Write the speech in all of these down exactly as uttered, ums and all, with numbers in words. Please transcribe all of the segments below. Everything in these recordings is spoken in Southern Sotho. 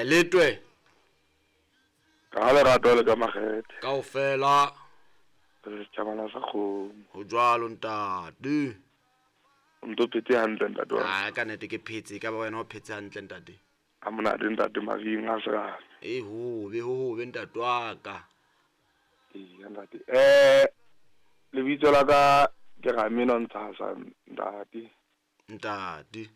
Eh letwe. Ka lerato le ka makgethe. Kaofela. Re setjhabana sa kgomo. Ho jwalo ntate. O ntso phetse hantle ntate wa. Ah ka nnete ke phetse, ka ba wena o phetse hantle ntate. Ha monate ntate Maring a serame. E hobe ho hobe ntate wa ka. Eya ntate. Eh lebitso la ka ke Rameno Ntshasa ntate. Ntate.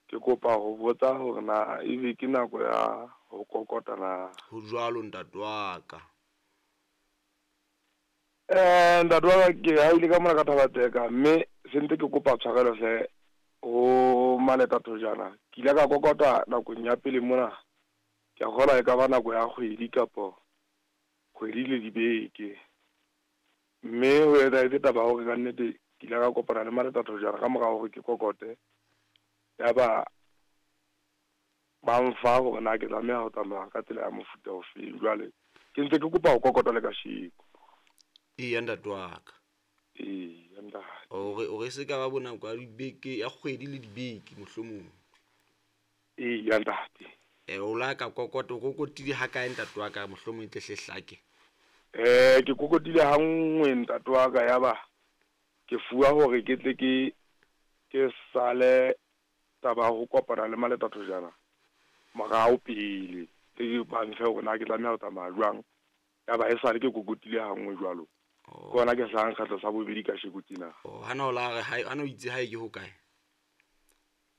Ke kopa ho botsa hore na ebe ke nako ya ho kokota na. Ho jwalo ntate wa ka. Eh ntate wa ka ke haile ka mona ka Thaba-Tseka mme se ntse ke kopa tshwarelo hle ho Maleta Thojana. Ke ile ka kokota nakong ya pele mona. Ke a kgolwa e ka ba nako ya kgwedi kapo kgwedi le dibeke. Mme ho etsahetse taba ya hore kannete ke ile ka kopana le Maleta Thojana ka mora hore ke kokote. Ya ba ba mfa hore na ke tlameha ho tsamaya ka tsela ya mofuta ofeng. Jwale ke ntse ke kopa ho kokota le kasheko. Eya ntate wa ka. Eya ntate. Hore hore se ka ba bo nako ya dibeke ya kgwedi le dibeke mohlomong. Eya ntate. Eh o la ka kokota o kokotile ha kae ntate wa ka mohlomong e tle hle hlake. Eh ke kokotile ha nngwe ntate wa ka ya ba ke fuwa hore ke tle ke ke sale taba ya ho kopana le Maleta Thojana morao pele. Tle ba mfe hore na ke tlameha ho tsamaya jwang. Ya ba esale ke kokotile ha nngwe jwalo. Oh. Ke hona ke hlahang kgetlo sa bobedi kasheko tjena. Oh, hana o la re ha hana o itse hae ke hokae?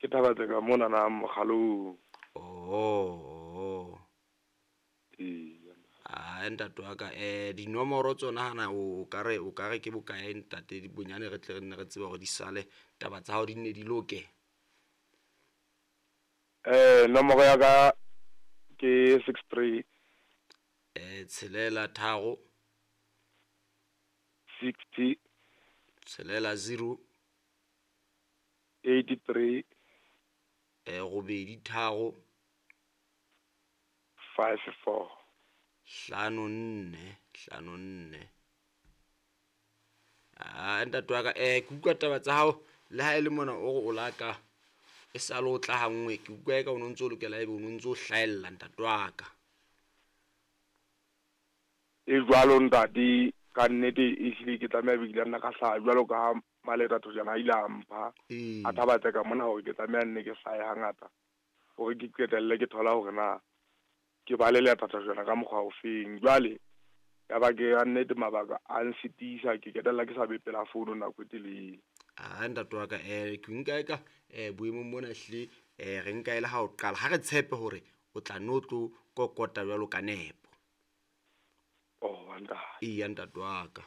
Ke Thaba-Tseka mona na Mokgalong. Oh, oh. Eya. Ah ntate wa ka eh dinomoro tsona hana o ka re o ka re ke bokae ntate bonyane re tle re nne re tsebe hore di sale taba tsa hao di nne di loke. Eh nomoro ya ka ke six three Eh tshelela tharo sixty tshelela zero eighty three eh robedi tharo five four. hlano nne hlano nne. Ah ntate wa ka eh ke utlwa taba tsa hao le ha e le mona o re o la ka e sale o tla ha nngwe ke utlwa eka o no ntso lokela ebe o no ntso hlahella ntate wa ka. E jwalo ntate ka nnete ehlile ke tlameha be ke ile nna ka hlaha jwalo ka ha Maleta Thojana a ile a mpha Ee. a Thaba-Tseka mona hore ke tlameha nne ke hlahe hangata hore ke qetelle ke thola hore na ke ba le Leta Thojana ka mokgwa ofeng. Jwale ya ba ke ka nnete mabaka a nsitisa ke qetella ke sa be pela founu nako e telele. Ah ntate wa ka eh ke nka eka eh boemong mona ehlile eh re nka ele ha o qala ha re tshepe hore o tla no tlo kokota jwalo ka nepo. Oh ntate. Eya ntate wa ka.